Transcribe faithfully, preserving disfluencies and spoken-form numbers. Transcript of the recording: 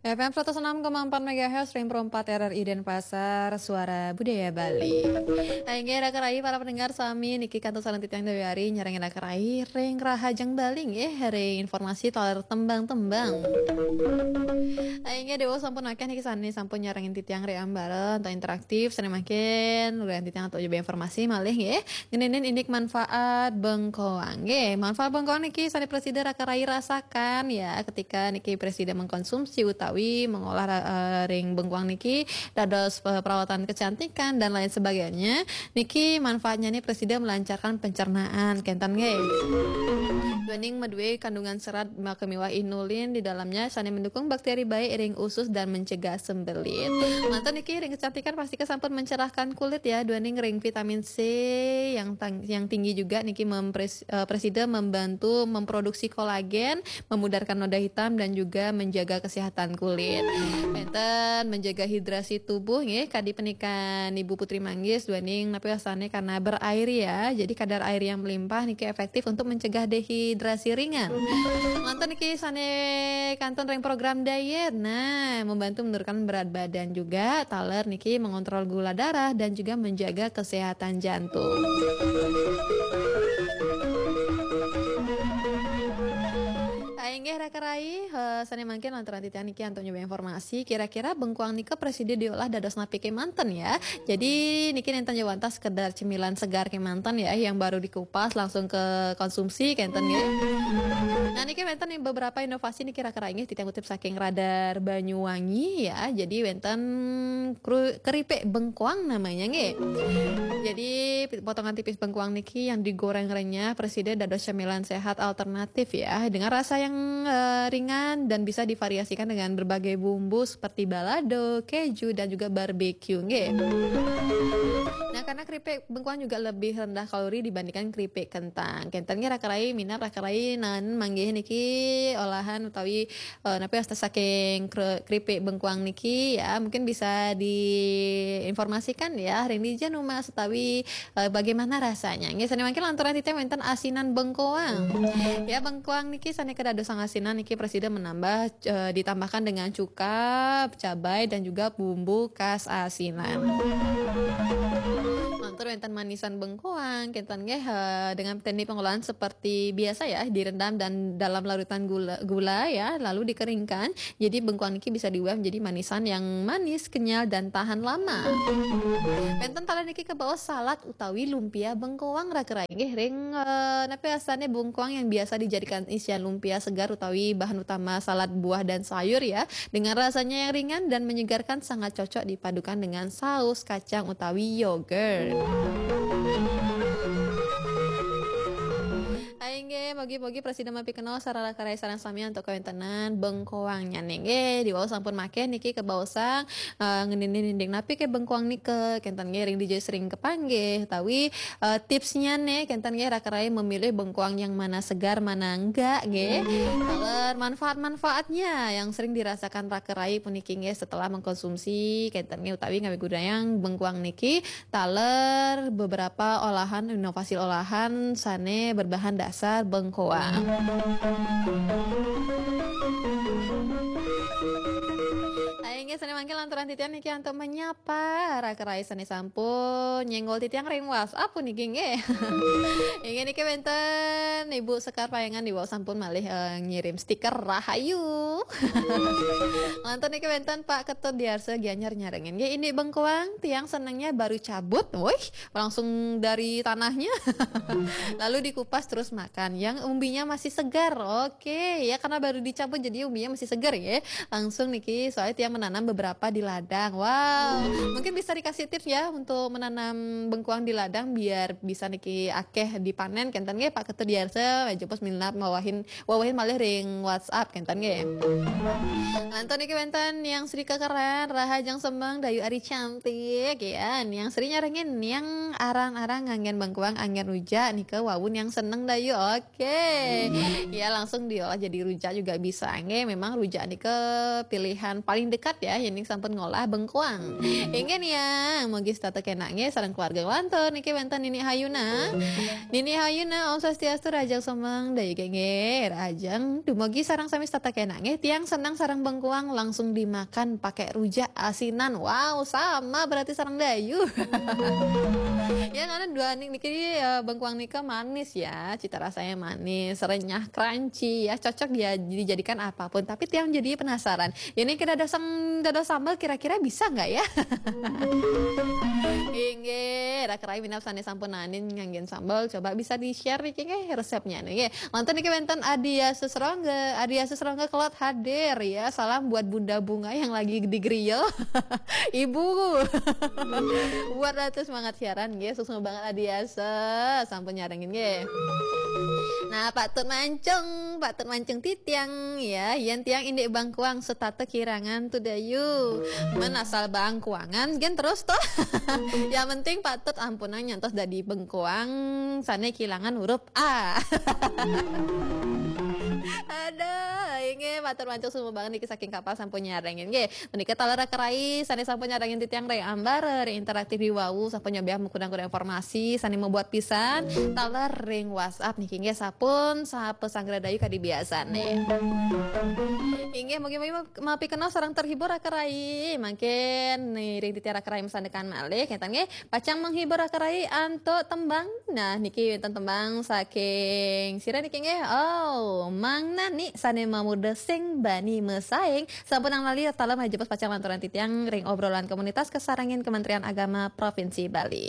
F M seratus enam koma empat megahertz, Ring Pro empat R R I Denpasar, Suara Budaya Bali. Inggih, raka rayi para pendengar sami, niki kantun sareng titiang Dewi Ari nyarengin raka rayi ring Rahajeng Bali nggih, ring informasi taler tembang-tembang. Inggih, Dewa sampun akeh niki sane sampun nyarengin titiang ring ambara antuk interaktif, sane mangkin ring titiang antuk nyoba informasi malih nggih. Ngeninin indik manfaat bengkoang. Nggih, manfaat bengkoang niki sane prasida raka rayi rasakan ya, ketika niki prasida mengkonsumsi utawi mengolah ra- eh, ring bengkoang niki dados eh, perawatan kecantikan dan lain sebagainya. Niki manfaatnya nih prasida melancarkan pencernaan, kenten nggih. Duaning madue kandungan serat maka miwah inulin di dalamnya sane mendukung bakteri baik ring usus dan mencegah sembelit. Manten niki ring kecantikan pasti sampun mencerahkan kulit ya, duaning ring vitamin C yang tang- yang tinggi juga niki mempres- eh, prasida membantu memproduksi kolagen, memudarkan noda hitam dan juga menjaga kesehatan kulit. Penten menjaga hidrasi tubuh nggih, kadi penikan Ibu Putri Manggis duaning napi wastane karena berair ya. Jadi kadar air yang melimpah niki efektif untuk mencegah dehidrasi ringan. Manten niki sane kantun ring program diet. Nah, membantu menurunkan berat badan juga. Taler niki mengontrol gula darah dan juga menjaga kesehatan jantung. Inggih raka rayi, eh, sane mangkin lantaran titiang niki antuk nyoba informasi, kira-kira bengkoang nika prasida diolah dados napi kemanten ya. Jadi niki nenten jawantah sekedar cemilan segar kemanten ya yang baru dikupas langsung ke konsumsi kenten ya. Nah niki wenten nih beberapa inovasi niki raka rayi nggih titiang kutip saking Radar Banyuwangi ya. Jadi wenten kru- keripik bengkoang namanya nggih. Jadi potongan tipis bengkoang niki yang digoreng renyah prasida dados cemilan sehat alternatif ya, dengan rasa yang eh, ringan dan bisa divariasikan dengan berbagai bumbu seperti balado, keju dan juga barbecue nggih. Nah, karena keripik bengkoang juga lebih rendah kalori dibandingkan keripik kentang. Kenten nggih raka rayi minab raka rayi nan manggih niki olahan utawi eh, napi wasta saking kre- keripik bengkoang niki ya, mungkin bisa diinformasikan ya ring dija numas utawi eh, bagaimana rasanya. Nggih, sane mangkin lantaran titiang wenten asinan bengkoang. Ya, bengkoang niki sane kadadosang asinan niki prasida menambah eh, ditambahkan dengan cuka, cabai dan juga bumbu khas asinan. Lantur wenten manisan bengkoang, kenten nggih eh, dengan teknik pengolahan seperti biasa ya, direndam dan dalam larutan gula, gula ya, lalu dikeringkan. Jadi bengkoang niki bisa diubah menjadi manisan yang manis, kenyal dan tahan lama. Wenten taler niki kabaos salad utawi lumpia bengkoang raka rayi nggih ring eh, napi wastane bengkoang yang biasa dijadikan isian lumpia segar utawi bahan utama salad buah dan sayur ya. Dengan rasanya yang ringan dan menyegarkan sangat cocok dipadukan dengan saus kacang utawi yogurt. Inggih, mugi-mugi prasida mapikenal sareng raka rayi sareng sami antuk kawentenan bengkoangnya nggih. Diwaos sampun makeh niki kabaosang eh, ngeninin indik napi ke bengkoang nika kenten nggih ring dija sering kepanggih. Tawi eh, tipsnya nih kenten nggih raka rayi memilih bengkoang yang mana segar mana enggak nggih. Taler manfaat-manfaatnya yang sering dirasakan raka rayi puniki nggih setelah mengkonsumsi kenten nggih utawi ngawi gudayang bengkoang niki taler beberapa olahan, inovasi olahan sane berbahan dasar bengkoang. Inggih sane mangkin lantaran titiang niki antuk menyapa raka rayi sane sampun nyenggol titiang ring WhatsApp puniki nggih. Inggih niki wenten Ibu Sekar Payangan Ibu sampun malih eh, ngirim stiker rahayu. Lantur niki wenten Pak Ketut Diarsa Gianyar nyarengin. Nggih, ini bengkoang tiang senengnya baru cabut. Wih, langsung dari tanahnya. Lalu dikupas terus makan. Yang umbinya masih segar. Oke, ya karena baru dicabut jadi umbinya masih segar ya. Langsung niki soalnya tiang menanam beberapa di ladang. Wow, mungkin bisa dikasih tips ya untuk menanam bengkoang di ladang biar bisa niki akeh dipanen kenten nggih Pak Ketut Diarsa. Jebos minat mawahin wawahin malih ring WhatsApp kenten nggih. Lantur niki wenten Niang Sri Kekeran, Rahajeng Semeng, Dayu Ari Cantik ya. Niang Sri nyarengin Niang arang-arang nganggen bengkoang anggen rujak nika wau Niang seneng Dayu. Oke. Ya langsung diolah jadi rujak juga bisa nggih. Memang rujak nika pilihan paling dekat ya. Ini sampun sampun ngolah bengkuang. Inggih nih ya, mugi setata kenak nggih sareng keluarga nglantur niki wenten Nini Hayuna. Nini Hayuna, Om Swastiastu, rahajeng semeng dayu nggih, rahajeng. Dumugi sareng sami setata kenak nggih, tiang senang sareng bengkuang langsung dimakan pakai rujak asinan. Wow, sama berarti sareng dayu. Ya, karena dua nik niki, eh, bengkuang nika manis ya, cita rasanya manis, renyah, crunchy ya, cocok dia dijadikan apapun. Tapi tiang jadi penasaran. Ini kita dados, dados sambal kira-kira bisa nggak ya? Inggih, raka rai minab sane sampun nanin nganggen sambal, coba bisa di-share niki nggih resepnya nggih. Wonten niki wenten Adia Susrongga, Adia Susrongga kelot hadir ya. Salam buat Bunda Bunga yang lagi di grill. Ibu. Buat ratu semangat siaran nggih, suksma banget Adia Sus. Sampun nyarengin nggih. Nah, Pak Tut Mancung, Pak Tut Mancung titiang ya, yen tiang indik bangkuang setata kirangan tu dayu. Men asal bangkuangan gen terus toh. Yang penting Pak Tut ampunang nyantos dadi bengkuang sane kilangan huruf A. Aduh, inggih Pak Tut Mancung semua banget niki saking kapal sampun nyarengin nggih. Menika taler raka rai sane sampun nyarengin titiang ring ambara ring interaktif di wau sampun nyobiah mengkudang-kudang informasi sane membuat pisan taler ring WhatsApp niki nggih sampun sapa sanggra dayu kadi biasane. Inggih mugi-mugi mapi kenal sareng terhibur raka rai. Mangkin ring titiang raka rai masandekan malih ngeten nggih pacang menghibur raka rai antuk tembang. Nah niki wenten tembang saking sira niki nggih. Oh, Mang Nani sane mamuda sing bani mesaing. Sampunang lali taler majepos pacang lanturan titiang ring obrolan komunitas kesarengin Kementerian Agama Provinsi Bali.